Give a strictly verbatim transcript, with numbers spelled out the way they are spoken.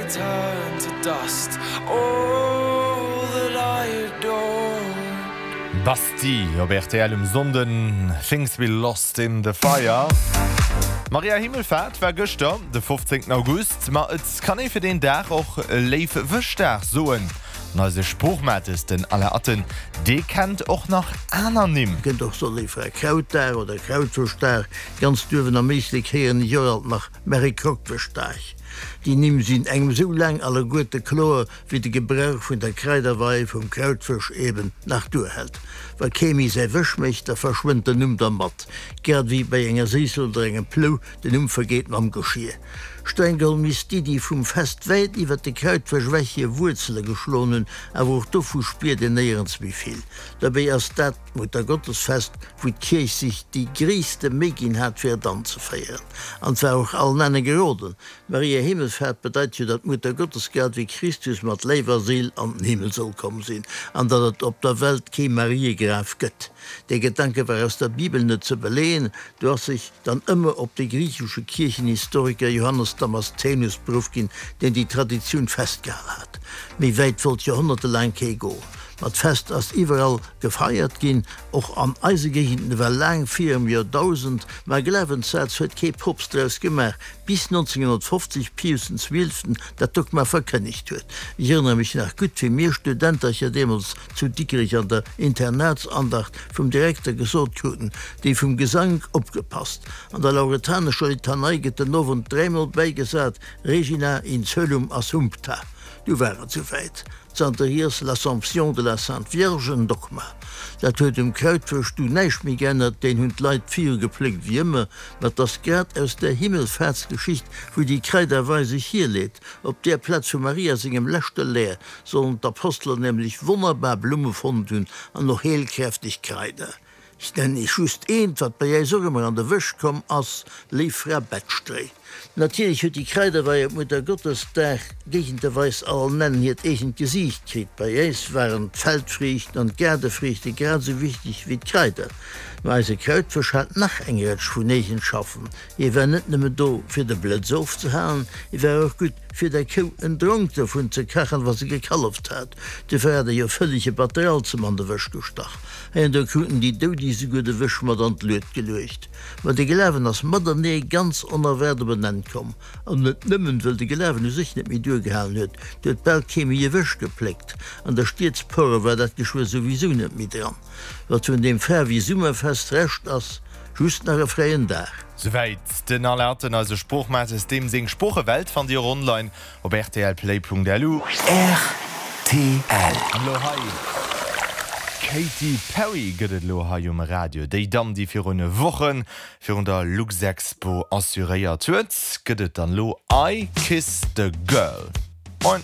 turn to dust all that I adored. Bastille op rtl um Sonnden, Things We Lost in the Fire. Maria Himmelfaart war gëschter, de fofzéngten August, ma et kann ee fir deen Dag och Léif Wëschdag soen. An eise Sproochmates, den Alain Atten, dee kennt och nach aner Nimm. Et kënnt och soe Léif Fra Krautdag oder Krautwëschdag, ganz duerwen am Éislek héieren ech och alt nach Mary Krockwëschdag. Déi Nimm sinn engem sou laang alleguerte kloer, wéi de Gebrauch vun der Kraiderwei vum Krautwësch eben nach duerhält. Wa kee méi säi Wësch mécht, da verschwënnt den Numm dermat, grad ewéi bei enger Séissel oder engem Plou den Numm vergeet mam Geschier. Streng geholl misst d'Iddi vum Fest wäit iwwer de Krautwësch ewech hir Wuerzele geschloen hunn, awer och dovu spiert een néierens méi vill. Dobäi ass dat d'Muttergottesfest, wou d'Kierch sech déi gréisste Méi ginn hat, fir et anzeféieren. An et war och allen Enne geroden. Maria Himmelfahrt bedeit jo, datt d'Mutter Gottes grad wéi Christus mat Léif a Séil an den Himmel soll komm sinn, an datt et op der Welt kee Mariegraf gëtt. Dee Gedanke war aus der Bibel net ze beleeën, do ass sech dann ëmmer op de griichesche Kierchenhistoriker Johannes Damaszenus beruff ginn, deen déi Traditioun festgehal hat. Méi wäit wollt joerhonnertelaang kee goen. Ma d'Fest ass iwwerall gefeiert ginn, och an eise Géigenden ewell laang virum Joerdausend. Ma e Glawenssaz huet kee Poopst draus gemaach, bis nonzénghonnertfofzeg Pius den Zwielften dat Dogma verkënnegt huet. Ech erënnere mech nach gutt, wéi mir Studentercher deemools zu Dikrech an der Internatsandacht vum Direkter gesot kruten, Déi vum Gesank opgepasst, an der lauretanescher Litanei gëtt den Owend dräimol bäigesat, Regina in coelum assumpta. Du war et souwäit. Zanterhiers l'Assomption de la Sainte Vierge en Dogma. Dat huet um Krautwësch du näischt méi geännert, deen hunn d'Leit virugepléckt wéi ëmmer. Ma 't ass grad aus där Himmelfaartsgeschicht, wou déi Kraiderwei sech hierleet. Op där Plaz vu Maria sengem leschte Lär sollen d'Aposteler nämlech wonnerbar Blumme fonnt hunn an och heelkräfteg Kraider. Ech nennen Iech just eent, wat bei äis och ëmmer an de Wësch komm ass, Léif Fra Bettstréi. Natierlech huet déi Kraiderwei op Muttergottesdag géigenterweis all nennen hiert eegent Gesiicht kritt. Bei äis waren d'Feldfriichten an d'Gaardefriichte grad esou wichteg wéi d'Kraider. Mä eise Krautwësch hat nach eng Rëtsch vun Eegenschaffen. Hie war net nëmmen do, fir de Blëtz ofzehalen, hie war och gutt, fir der Kou en Dronk dovun ze kachen, wa se gekalleft hat. Dofir hat e jo vëllege Batteralzem an de Wësch gestach. Heiando kruten déi Doudi souguer de Wësch mat an d'Lued geluecht. Ma de Glawen ass matenee ganz onerwaart op en Enn komm. An net nëmmen, wëll de Glawen u sech net méi duergehalen huet, et huet bal kee méi e Wësch gepléckt. An der Stiedsporre war dat geschwë souwisou net méi dran. Wat vun deem Faarwi-Summerfest Rescht ass, just nach e fräien Dag. Souwäit den Alain Atten, eise Sproochmates. Deem seng Sproochewelt fannt Dir och online op rtlplay.lu. Rtl. An elo hei d'Katy Perry gëtt et elo hei um Radio. Déi Damm, déi virun Woche virun der Luxexpo assuréiert huet, gëtt et dann elo I Kissed a Girl. Moin.